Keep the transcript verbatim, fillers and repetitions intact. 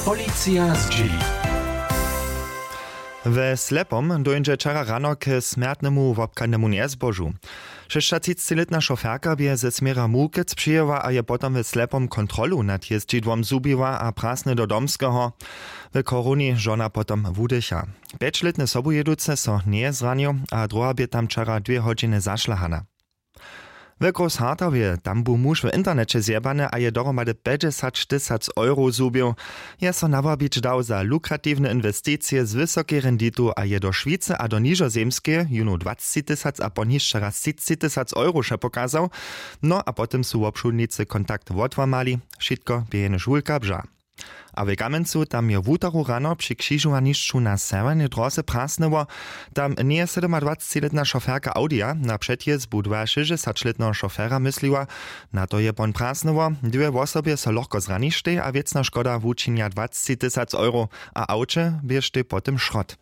Policija zdźěli. We Slepom dóńdźe wčera rano k smjertnemu wobchadnemu njezbožu. Šěsćatřicciletna šoferka bě ze směra Mukec přijěła a je potom w Slepom kontrolu nad jězdźidłom zhubiła a prasny do Domskeho. W chorowni žona potom wudycha. Pjećlětny sobujěducy so njeje zranił a druha bě tam wčera dwě hodźiny zašlahana. W Großhartowje, tam bu muž w interneće zjebany a je dohromady pjećdźesać tysac euro zhubił. Je so nawabić dał za lukratiwne inwesticije z wysokej renditu a je do Šwicy a do Nižozemskeje jónu dwacci tysac a pon hišće raz třicci tysac euro wšo pokazał. No a potom su wobšudnicy kontakt wotłamali. Wšitko bě jenož wulka bža. A w Kamjencu, tam je wutoru rano při křižowanišću na sewjernej dróze prasnyło. Tam njeje sydomadwacciletna šoferka Audija na předjězbu dwašěsćdźesaćletneho šofera mysliła. Na to je pon prasnyło. Dwě wosobje so lochko zraništej a wěcna škoda wučinja dwacci tysac euro. A awće běštej po tym šrot.